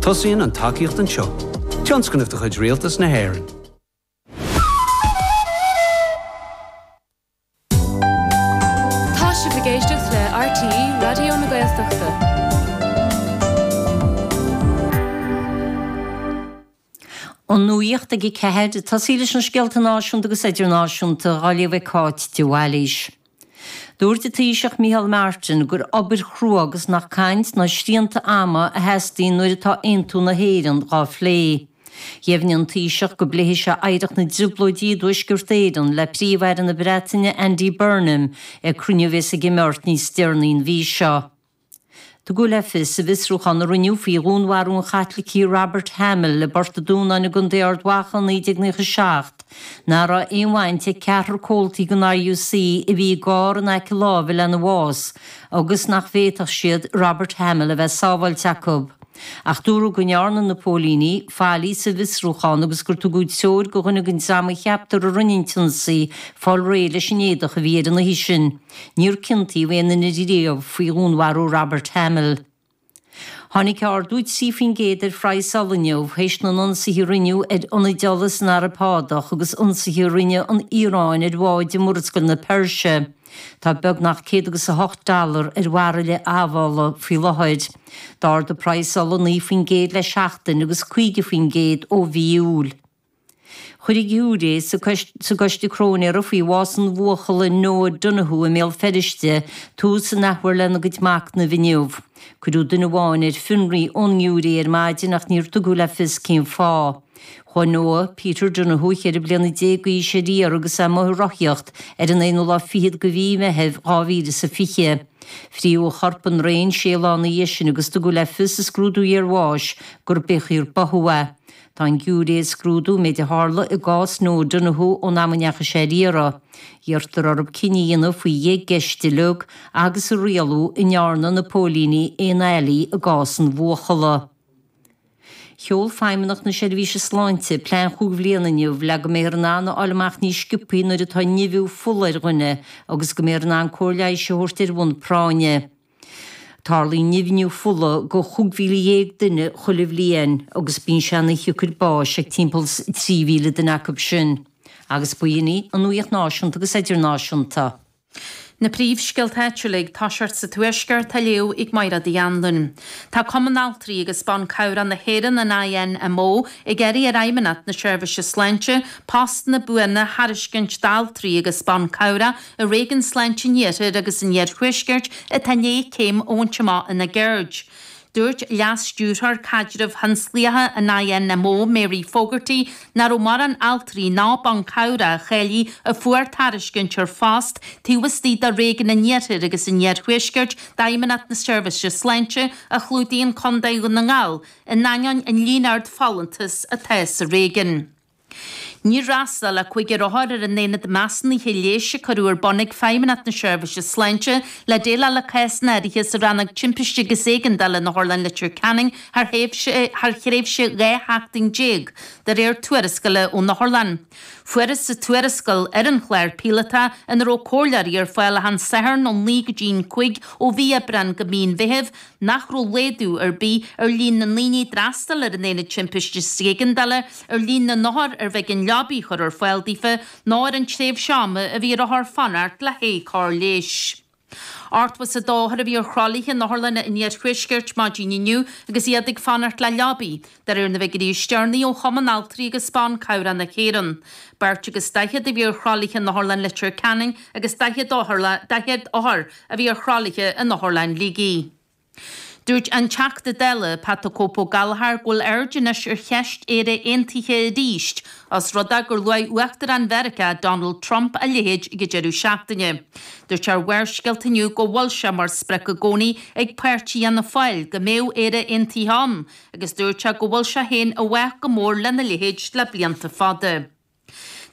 Tosaíonn an tacaíocht anseo. Tionscnamh de chuid Rialtas na hÉireann. Tá sibh ag éisteacht le RTÉ Raidió na Gaeltachta. An nuacht ag 4, ag tosaí leis na scéalta náisiúnta agus idirnáisiúnta, á léamh ag Cáit de Bhailís. Dúirt an Taoiseach Micheál Martin gur obair chrua agus nach caint ná srianta ama a theastaíonn nuair atá aontú na hÉireann dhá phlé. Dheimhnigh an Taoiseach go bpléifidh sé oidhreacht na dTrioblóidí i dTuaisceart Éireann le Príomh-Aire na Breataine Andy Burnham ag cruinniú a bheas ag imeacht níos deireanaí an mhí seo. Tugadh le fios i bhfiosrúchán a rinneadh faoi dhúnmharú an Chaitlicigh Robert Hamill i bPort an Dúnáin i gContae Ard Mhacha i 1997 nach raibh aon bhaint ag ceathrar comhaltaí den RUC a bhí i gcarr in aice láimhe lena bhás agus nach bhféadfadh siad Robert Hamill a bheith sábháilte acu. Ach dúradh go ndearna na póilíní faillí sa bhfiosrúchán agus gur tugadh treoir do dhuine den dream a cheaptar a rinne an t-ionsaí fáil réidh leis an éadach a bhí air an oíche sin. Níor ciontaíodh aon duine riamh faoi dhúnmharú Robert Hamill. Tháinig ardú 3% ar phraghas ola inniu théis na n-ionsaithe a rinneadh ar ionaid ola san Araib Shádach agus ionsaithe a rinne an Iaráin ar bháid i Murascaill na Peirse. Tá beagnach 108 dollar ar bhairille amhola faoi láthair. D'ardaigh praghas ola 9% le seachtain agus 50% ó mhí Iúil. Chuir an giúiré sa gcoiste cróinéara faoi bhás an bhuachalla Noah Donohoe i mBéal Feirste tús an athuair lena gcuid machnaimh inniu. Cuireadh duine amháin ar fionraí ón ngiúiré ar maidin ach níor tugadh le fios cén fáth. Chuaigh Noah Peter Donohoe, 14 bliana d'aois, ar iarraidh agus é amuigh ag rothaíocht ar an aonú lá fichead de mhí Meithimh 2020. Fríothadh a chorp i ndraein sé lá ina dhiaidh sin agus tugadh le fios i scrúdú iarbháis gur b'fhíochar báthadh é. Tá an giúiré ag scrúdú an méid a tharla i gcás Noah Donohoe ón am a ndeachaigh sé ar iarraidh. Iarrtar orthu cinneadh a dhéanamh faoi dheich gceist uilig agus a rialú an ndearna na póilíní aon fhaillí i gcás an bhuachalla. Sheol Feidhmeannacht na Seirbhíse Sláinte plean chúig bhliana inniu le go mbeifear in ann a fháil amach níos sciobthaí nuair atá nimhiú fola ar dhuine agus go mbeifear in ann cóir leighis a thabhairt ar bhonn práinne. Tarlaíonn nimhniú fola do 15,000 duine chuile bhliain agus bíonn sé ina shiocair báis ag timpeall 3,000 duine acu sin. Agus b'in í an nuacht náisiúnta agus idirnáisiúnta. Na príomhscéalta áitiúla ag toiseacht sa Tuaisceart á léamh ag Mairéad Uí Anluain. Tá Cumann Altraí agus Ban Cabhrach na hÉireann, an INMO, ag iarraidh ar Fheidhmeannacht na Seirbhíse Sláinte postanna buana a thairiscint d'altraí agus ban cabhrach i Réigiún Sláinte an Iarthair agus an Iarthuaiscirt atá i ndiaidh céim a bhaint amach ina gceird. Dúirt Leas-Stiúrthóir Caidrimh Thionsclaíocha an INMO, Mary Fogarty, nach raibh mórán altraí ná ban cabhrach cháilithe a fuair tairiscint ar phost taobh istigh de Réigiún an Iarthair agus an Iarthuaiscirt d'Fheidhmeannacht na Seirbhíse Sláinte a chlúdaíonn Contae Dhún na nGall, in ainneoin an líon ard folúntas atá sa réigiún. Níor fhreastail ach cúigear othar ar an aonad measúnaithe leighis a cuireadh ar bun ag Feidhmeannacht na Seirbhíse Sláinte le déileáil le cásanna áirithe sa Rannóg Timpiste agus Éigeandála in Otharlann Leitir Ceanainn thar thréimhse 12 sheachtain, de réir tuarascála ón otharlann. Fuarthas sa tuarascáil ar an chlár píolótach, ina raibh comhairleoirí ar fáil achan Satharn ó 9 go dtí'n 5 ó mhí Aibreáin go mí an Mheithimh, nach raibh laghdú ar bith ar líon na ndaoine a d'fhreastail ar an Aonad Timpiste is Éigeandála, ar líon na n-othar arbh éigean leabaí a chur ar fáil daofa, ná ar an tréimhse ama a bhí ar othair fanacht le haghaidh cóir leighis. 82 othar a bhí ar thralaithe in otharlanna an iarthuaiscirt maidin inniu agus iad ag fanacht le leabaí, de réir na bhfigiúirí is deireanaí ó Chumann Altraí agus Ban Cabhrach na hÉireann. Beirt agus daichead a bhí ar thralaithe in Otharlann Leitir Ceanainn agus 40 othar a bhí ar thralaithe in Otharlann Shligigh. Dúirt an Teachta Dála, Pat 'The Cope' Ó Gallchóir go bhfuil aird anois ar cheist Éire Aontaithe arís, os rud é gur luaigh Uachtarán Mheiriceá, Donald Trump a leithéid ag an deireadh seachtaine. Dúirt sé ar Bharrscéalta inniu go bhfuil sé mar sprioc i gcónaí ag páirtí Fhianna Fáil go mbeadh Éire Aontaithe ann agus dúirt sé go bhfuil sé féin i bhfách go mór lena leithéid le blianta fada.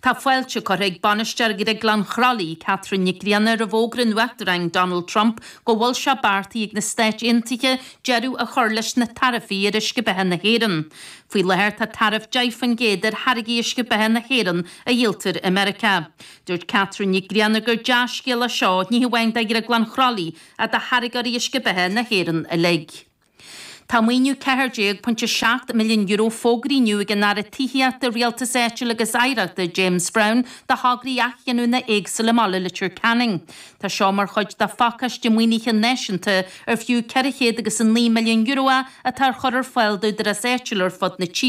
Tá fáilte curtha ag Bainisteoir Dhrioglann Chroithlí, Catherine Nic Grianna, roimh fhógra an Uachtaráin Donald Trump go bhfuil sé beartaithe ag na Stáit Aontaithe deireadh a chur leis na taraifí ar uisce beatha na hÉireann. Faoi láthair tá taraif 10% ar tháirgí uisce beatha na hÉireann a dhíoltar i Meiriceá. Dúirt Catherine Nic Grianna gur dea-scéal é seo ní hamháin do Dhrioglann Chroithlí ach do tháirgeoirí uisce beatha na hÉireann uilig. Tá maoiniú €14.7 milliún fógraithe inniu ag an Aire Tithíochta, Rialtais Áitiúil agus Oidhreachta James Browne do thograí athghiniúna éagsúla i mbaile Leitir Ceanainn. Tá seo mar chuid de phacáiste maoinithe náisiúnta ar fiú €409 milliún é atá á chur ar fáil d'údaráis áitiúla ar fud na tíre.